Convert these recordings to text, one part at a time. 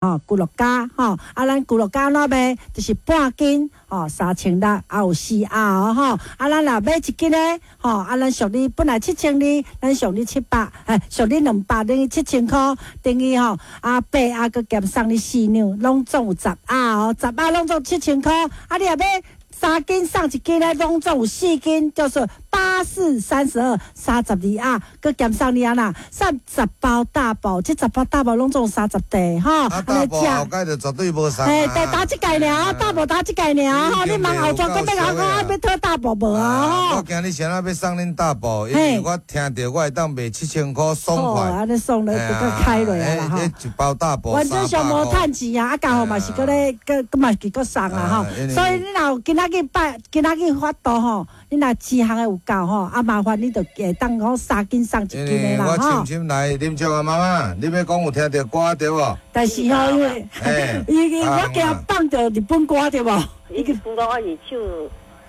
吼，牛肉膠吼，啊，咱牛肉膠怎賣？就是半斤吼，3600，啊有四盒哦吼。啊，咱若買一斤咧，吼，啊，咱俗你本來7200，咱俗你700，哎，俗你200，等於7000箍，等於吼，啊八盒閣減送你4兩，攏總有十盒哦，十盒攏總7000箍。啊，你若買3斤送1斤咧，攏總有4斤，叫做八四三十二，32盒，閣減送你按怎？送10包大寶，這十包大寶攏總30塊吼。啊，大寶後蓋就絕對無送。嘿，對，打這屆爾，大寶打這屆爾吼，你問後逝閣欲共我講啊，欲討大寶無啊？吼。我驚你啥仔欲送恁大寶，因為我聽著我會當賣7000箍爽快。按呢爽咧，就閣開落來啦吼。一包大寶。原則上無趁錢啊，啊，家伙嘛是閣咧，閣閣嘛是閣送啊吼。所以你若有今仔日拜，今仔日發度吼，你若錢項的有夠吼，啊麻煩你就會當講3斤送1斤的啦吼。我深深來啉酒啊，媽媽，你欲講有聽著歌對無？但是吼，因為伊我驚放著日本歌對無？日本歌我是唱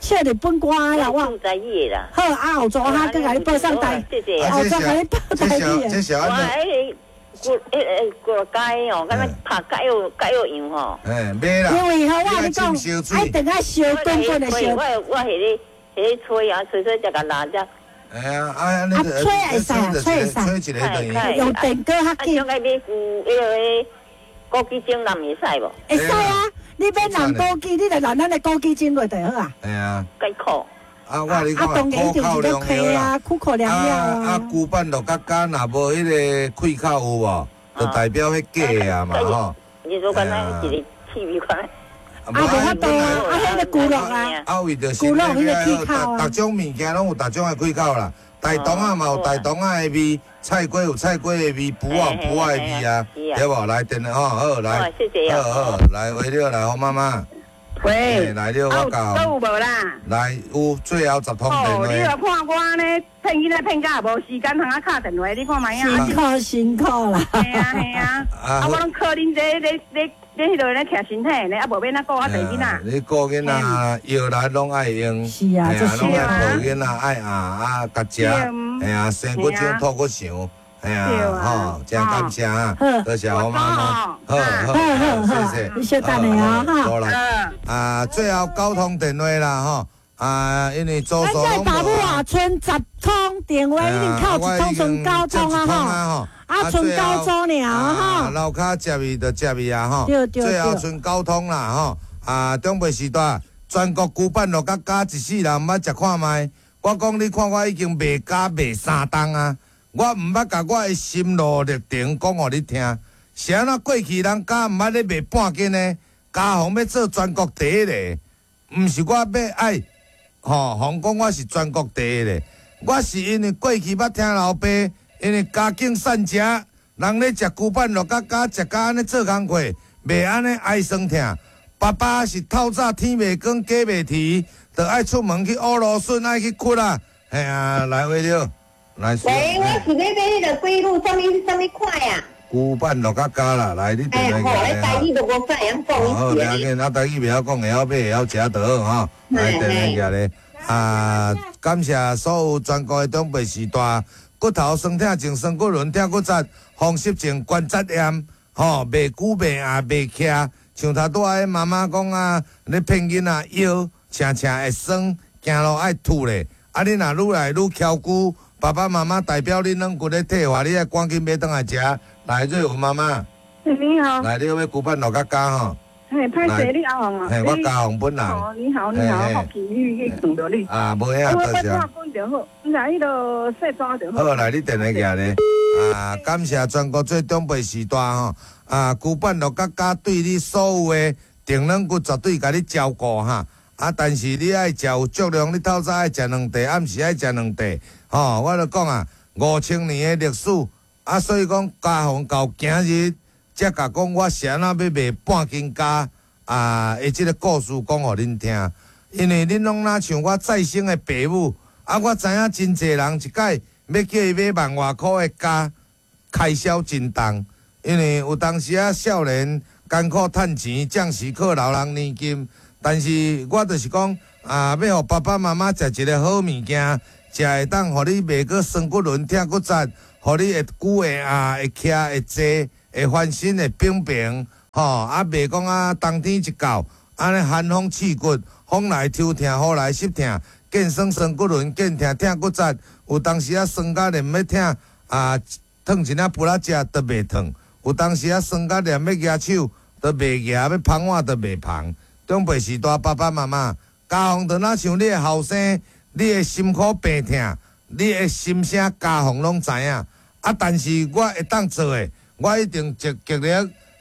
唱日本歌啦，我唱台語的啦。好，啊後逝哈，閣共你報送台，後逝共你報台語的。我彼個骨彼個骨肉雞哦，敢若拍解藥解藥樣吼。嘿，買啦。因為吼，我共你講，愛等下燒滾滾的燒。我我彼個彼個吹啊，吹吹才共拉只。哎呀，啊啊，吹會使啊，吹會使，吹一個等於。用電鍋較緊。啊，想愛買舊彼個枸杞精淋會使無？會使啊，你買淋枸杞，你就淋咱的枸杞精落就好啊。會啊。解苦。啊，我共你講，苦口良藥啊，苦口良藥啊。啊，牛板肉較乾，若無彼個氣口有無？就代表彼假的啊嘛吼。你說敢若一個氣味款。啊，無法度啊！啊，彼個牛肉啊，啊，為著牛肉彼個氣口啊。逐種物件攏有逐種的氣口啦。大腸仔嘛有大腸仔的味，菜瓜有菜瓜的味，脯仔有脯仔的味啊，對無？來電話吼，好來，好好來，為了來，黃媽媽。喂，來了，我教。閣有無啦？來，有最後10通電話。哦，你若看我按呢騙囡仔騙甲無時間通我敲電話，你看覓啊？辛苦辛苦啦。嘿啊嘿啊，啊我攏靠恁這咧咧咧彼落咧徛身體呢，啊無欲按怎顧我趒囡仔。你顧囡仔藥力攏愛用，是啊，攏愛抱囡仔愛啊啊，共食，嘿啊，生骨精吐骨腸。哎呀，吼，真感謝啊，多謝黃媽媽，好好好，謝謝，你稍等下啊，好啦，啊，最後9通電話啦，吼，啊，因為周咱在大埔啊，賰10通電話，已經扣一通，賰9通啊，吼，啊，賰9組爾，吼，樓跤接伊就接伊啊，吼，最後賰9通啦，吼，啊，長輩時代，全國牛板肉佮咬一世人毋捌食看覓，我講你看我已經賣咬賣3冬啊。我毋捌共我的心路歷程講予你聽，是按怎過去人家毋捌咧賣半斤的，家雄欲做全國第一個，毋是我欲愛吼，予講我是全國第一個，我是因為過去捌聽老爸，因為家境散食，人咧食牛板肉佮咬食甲按呢做工課，袂按呢哀酸疼。爸爸是透早天袂光，雞袂啼，就愛出門去烏蘆筍，愛去掘啊，嘿啊，來話著。喂，我是欲買彼个龜鹿，啥物啥物款啊？牛板肉較加啦，來你電話過來。欸，好，你台語都無啥會曉講。好，袂要緊，啊台語袂曉講，會曉買，會曉食就好吼。來電話過來，啊，感謝所有全國的長輩序大，骨頭酸痛症、酸骨輪、痛骨節、風濕症、關節炎，吼，袂久袂硬袂徛，像頭拄仔彼媽媽講啊，咧騙囡仔腰，捙捙會酸，行路愛吐咧，啊，你若愈來愈蹺久。爸爸媽媽代表恁軟骨咧退化，你愛趕緊買轉來食。來，瑞文媽媽。你好。來，你欲牛板肉佮咬吼。嘿，歹勢，你阿雄啊？嘿，我嘉宏本人。哦，你好，你好，福氣你去碰著你。啊，無影，多謝。我我就好，毋是彼落細紙就好。好，來，你電話寄咧。啊，感謝全國做長輩序大吼。啊，牛板肉佮咬對你所有的定軟骨絕對共你照顧哈。啊，但是你愛食有足量，你透早愛食兩塊，暗時愛食兩塊，吼！我就講啊，5000年的歷史，啊，所以講嘉宏到今日才共講我是按怎欲賣半斤膠啊的這個故事講予恁聽，因為恁攏若像我再生的爸母，啊，我知影真濟人一擺欲叫伊買萬外箍的膠，開銷真重，因為有當時啊少年艱苦趁錢，暫時靠老人年金。但是我就是講啊，欲予爸爸媽媽食一个好物件，食會當予你袂閣酸骨輪、疼骨節，予你會久會硬、會徛、會坐、會翻身、會平平，吼，啊，袂講啊，冬天一到，按呢寒風刺骨，風來抽疼，雨來濕疼，見酸酸骨輪，見疼疼骨節，有當時啊酸甲連欲疼啊，燙一領布仔食都袂燙，有當時啊酸甲連欲舉手都袂舉，欲捧碗都袂捧。長輩時代爸爸媽媽，家鳳就若像你的後生，你的心苦病疼，你的心聲家鳳攏知影。啊，但是我會當做的，我一定極極力，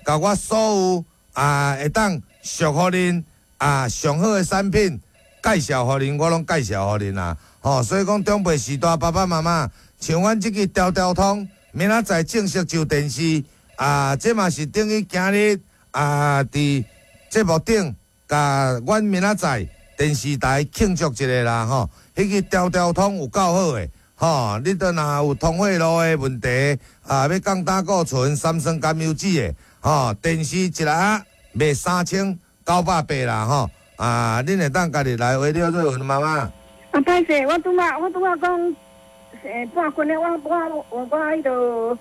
共我所有啊會當俗予恁啊上好的產品介紹予恁，我攏介紹予恁啊。吼，所以講長輩時代爸爸媽媽，像阮這支條條通，明仔載正式上電視啊，這嘛是等於今日啊，佇節目頂，共阮明仔載電視台慶祝一下啦，吼。彼支條條通有夠好的。吼，你都若有通血路的問題，啊，欲降膽固醇、三酸甘油酯的，吼，電視一粒賣3980啦，吼，啊，恁會當家己來話了做媽媽。啊，歹勢，我拄仔講，半斤的，我彼度，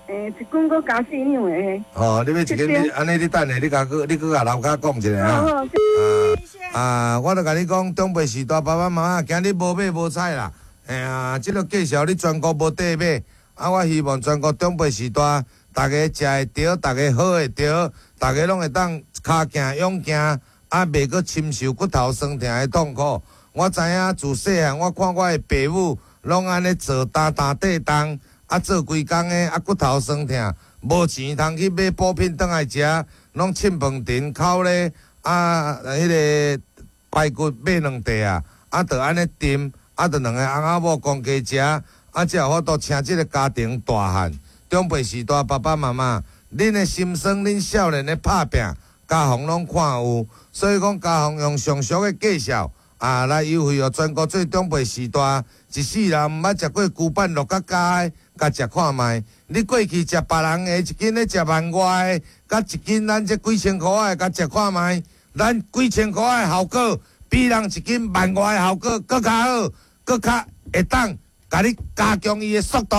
一斤閣加4兩的。哦，你欲一斤，你按呢？你等下，你共閣，你閣共樓跤講一下啊。啊，我著共你講，長輩時代爸爸媽媽今日無買無彩啦。嘿啊，這个介紹你全國無得買，啊，我希望全國長輩時代，逐家食會著，逐家好會著，逐家攏會當跤行勇行，啊，袂閣深受骨頭酸疼的痛苦。我知影自細漢，我看我的爸母攏按呢做擔擔綴重，啊，做規工的，啊，骨頭酸疼，無錢通去買補品轉來食，攏凊飯甜烤咧，啊，彼个排骨買兩塊啊，啊，就按呢澹。啊，著兩个翁仔某公家食，啊，才有法度請這个家庭大漢。長輩時代爸爸媽媽，恁的心酸，恁少年的拍拚，家鳳攏看有，所以講家鳳用上俗的介紹啊，來優惠予全國做長輩時代，一世人毋捌食過牛板鹿角膠的，共食看覓。你過去食別人的，一斤咧食萬外的，佮一斤咱這幾千箍仔的，共食看覓。咱幾千箍仔的效果，比人一斤萬外的效果閣較好。閣較會當共你加強伊的速度，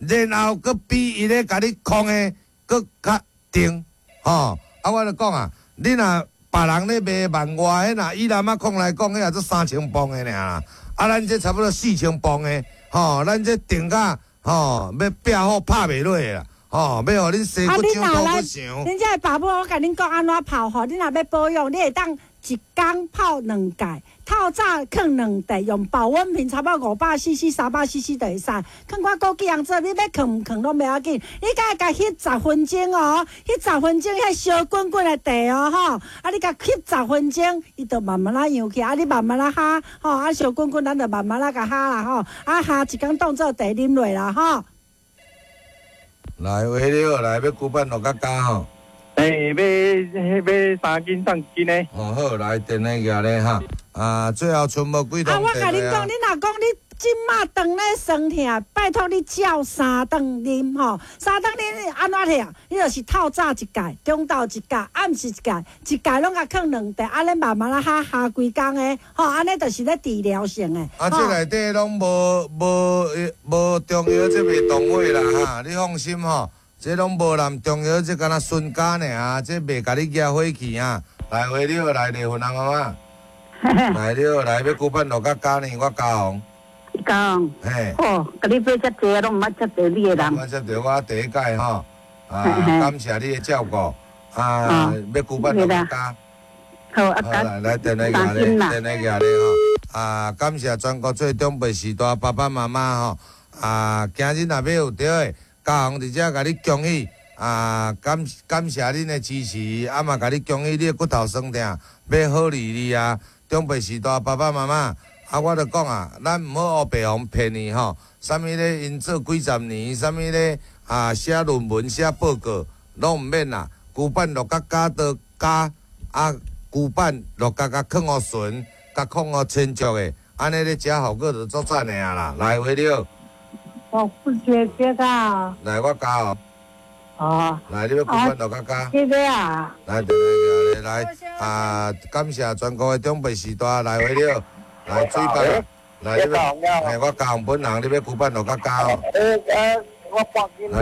然後閣比伊咧共你控的閣較定，吼！啊，我就講啊，你若別人咧賣萬外，彼若以南仔控來講，彼也做3000磅的爾啦。啊，咱這差不多4000磅的，吼，咱這定甲吼，欲壁虎拍袂落啦，吼，欲予恁生骨長土骨長。恁這爸母，我共恁講按怎泡吼，你若欲保養，你會當一工泡兩蓋，透早囥兩塊，用保溫瓶，差不多500 cc、300 cc 就會使。囥寡枸杞紅棗，你欲囥毋囥攏袂要緊。你共共翕十分鐘哦，翕十分鐘，彼燒滾滾的茶哦，吼，啊，你共翕十分鐘，伊就慢慢仔揚起，啊，你慢慢仔哈，吼，啊，燒滾滾，咱就慢慢仔共哈啦，吼，啊，哈一工當做茶啉落啦，吼。來，喂，你好，來，欲龜板鹿角膠吼。欸，買3斤送1斤的。哦好，來電話寄咧哈。啊，最後剩無幾通。啊，我共恁講，你若講你這馬當咧酸疼，拜託你照三頓啉吼，三頓啉按怎疼？你就是透早一蓋，中晝一蓋，暗時一蓋，一蓋攏共囥兩塊，按呢慢慢仔哈哈規工的，吼，按呢就是咧治療性的。啊，這內底攏無中藥，這袂動火啦哈，你放心吼。這攏無含中藥，這敢若純膠爾，這袂共你惹火氣啊！來，話你好，來離婚啊，媽媽。來，你好，來欲龜板鹿角膠呢？我家紅。家紅。嘿。哦，共你買遮濟，攏毋捌接著你的人。毋捌接著我第一擺吼，啊，感謝你的照顧，啊，欲龜板鹿角膠。好，啊，來來，電話寄咧，電話寄咧吼。啊，感謝全國做長輩時代爸爸媽媽吼，啊，今日若欲有著的。家鳳佇遮共你恭喜啊！感感謝恁的支持，啊嘛共你恭喜你的骨頭酸疼欲好利利啊！長輩時代爸爸媽媽，啊我著講啊，咱毋好烏白予騙去吼，啥物咧𪜶做幾十年，啥物咧啊寫論文寫報告，攏毋免啦。龜板鹿角膠都加啊，龜板鹿角膠囥予純，共控予清潔的，按呢咧食效果就足讚的啊啦！來，話你好。我不覺這個。來，我教哦。哦。來，你欲龜板鹿角膠。這個啊。來，來，來，來，啊！感謝全國的長輩時代來回了，來水壩，來你欲，嘿，我教本人，你欲龜板鹿角膠哦。來，來，來，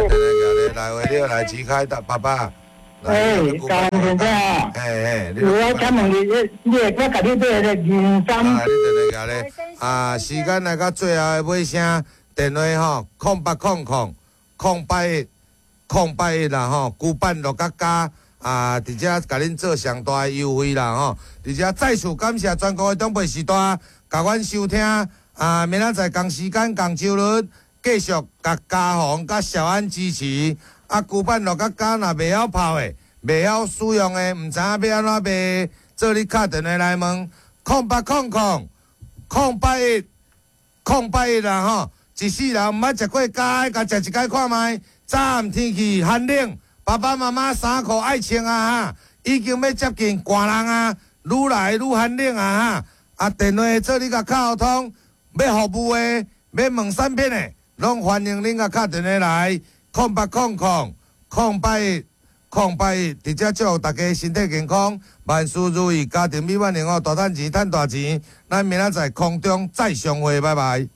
來，來，回了，來，齊開的爸爸。欸，江先生啊，欸欸，我請問你，你會我共你買个人參？啊，你電話咧啊，時間來到最後的尾聲，電話吼，0800 008 1081啦吼，龜板樂甲加啊，佇遮共恁做上大的優惠啦吼，佇遮再次感謝全國的長輩序大，共阮收聽啊，明仔載仝時間仝周日繼續共嘉宏佮小安支持。啊，龜板樂甲加若袂曉泡的，袂曉使用的，毋知影欲按怎賣，做你敲電話來問，0800 081 081啦吼。一世人毋捌食過咖，共食一擺看覓。早暗天氣寒冷，爸爸媽媽衫褲愛穿啊哈，已經欲接近寒人啊，愈來愈寒冷啊哈。啊，電話做你共敲通，欲服務的，欲問產品的，攏歡迎恁共敲電話來。0800 008 1081，佇遮祝福大家身體健康，萬事如意，家庭美滿幸福，大趁錢，趁大錢。咱明仔載空中再相會，拜拜。